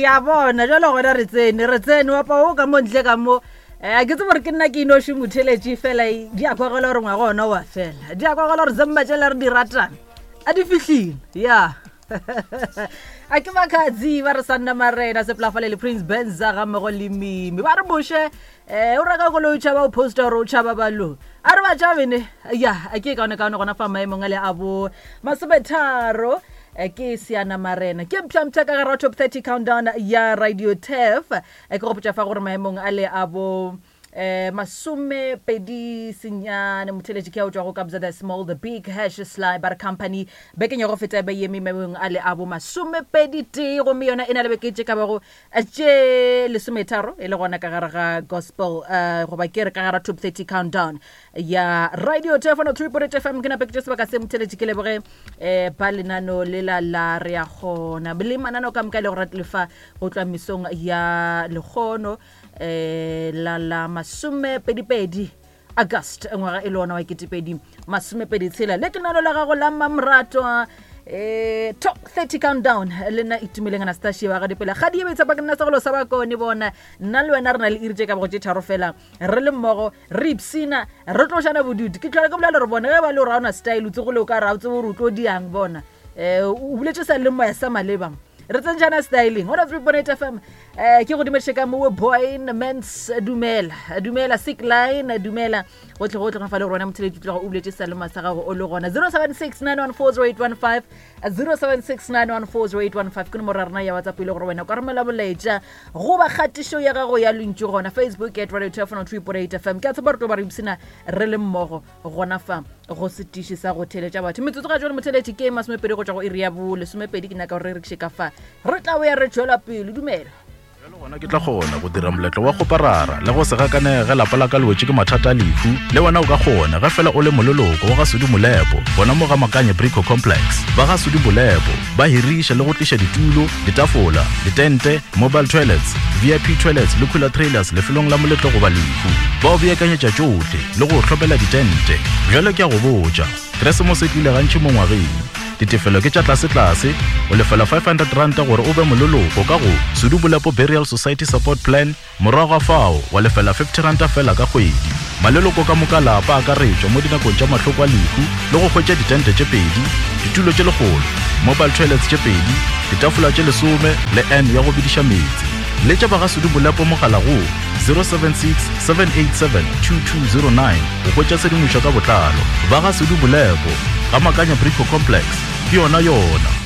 ya bona jalo gona re tsene re tsene wapa o ka mo ntle ka mo um ke tsebo gore ke nna ke inoši motheletše fela di a kwagela gore ngwaga ona wa fela di a kwagela gore zemma tšela re di ratang a di fihlile ya a ke makhadzi ba re sanna marena sepolafale le prince benza ga mmogo le mimi ba re moše um o reka koloi o tšhaba o posta gore o tšhaba balo a re ba tšabene ya a ke kaone kaone gona fa maemong a le a bo masometharo eh, ke seana marena ke mpšhampšha ka gara top 30 countdown ya radio tef eh, ke gopotša fa gore maemong a le a bo eh masomepedi senyane motheletši ke a o tšwago kabza the small the big hash sly bar company bekeng ya go feta be yeme maemong a le a bo masomepedi tee gomme yona e na le beke tše ka bago tše lesometharo e le gona ka gare ga gospel uh, goba ke re ka gara top 30 countdown ya radio telefono 3.8 fm ke nape ke tše sebaka se motheletši ke leboge um ba lenano lela la re ya gona le manano ka moka e le go rate lefa go tlwa mesong ya lekgono um la la masomepedipedi august ngwaga e le ona wa ketepedi masomepedi tshela le ke nalo la gago la mamratwa eh top 30 countdown le nna itumeleng anastasia wa gadipela ga di ebetsa pa ke nna segolo sa bakone bona nna le wena re na le iri tše ka bogo tše tharo fela re le mmogo re ipsina re tlošana bodutu ke tlhola ke bolela gore bona ge ba le gore ga ona style o tsegole o ka re ga o tsebe gore o tlo diang bona um o boletse sa le moya sa maleba re tsentšana styling ona 3.8 fm eh ke go dumediše ka mowe boyn mans dumela dumela sick line dumela gotlhe gotlhe ga fa le rona motheletši tloga o buletše salema sa gago o le gona 0769140815 0769140815 ke nomoro ya rena ya whatsapp e le gore wena o ka romela molaetša goba kgatišo ya gago ya lentšu gona facebook at radio 2.8 fm ke a tshepa re tlo ba re ipsina re le mmogo gona fa go setiši sa go theletša batho metsotso ga jone motheletši ke masomepedi go tšwa go iri ya bo lesomepedi ke nyaka gore re rekiše ka fa re tla boya re tšwela pele dumela bjale gona ke tla kgona go dira moletlo wa go parara le go se gakanege ge lapa la ka le wetše ke mathata a lehu le wena o ka kgona ge fela o le moleloko wa ga sudi molepo gona mo ga makanye brico complex ba ga sudi molepo ba hiriša le go tliša ditulo ditafola ditente mobile toilets vip toilets le cooler trailers lefelong la moletlo goba lehu ba o beakanyetša tšohle le go hlopela ditente bjale ke a go botša keresemose e tlile gantši mo ngwageng ditefelo ke tša tlasetlase o lefela 500 ranta gore o be moleloko ka go sudubolepo burial society support plan Morago ga fao wa lefela 50 ranta fela ka kgwedi. Maleloko ka moka lapa a akaretšwa mo dinakong tša mahloko a lehu le go hwetša ditente tše pedi, ditulo tše lekgolo, mobile toilets tše pedi, ditafola tše lesome le urn ya go bediša meetse. Letša ba ga Sudu Bolepo mogala go 076 787 2209 go hwetša tshedimošo ka botlalo. Ba ga Sudu Bolepo, ga Makanya Brico Complex, ke yona yona.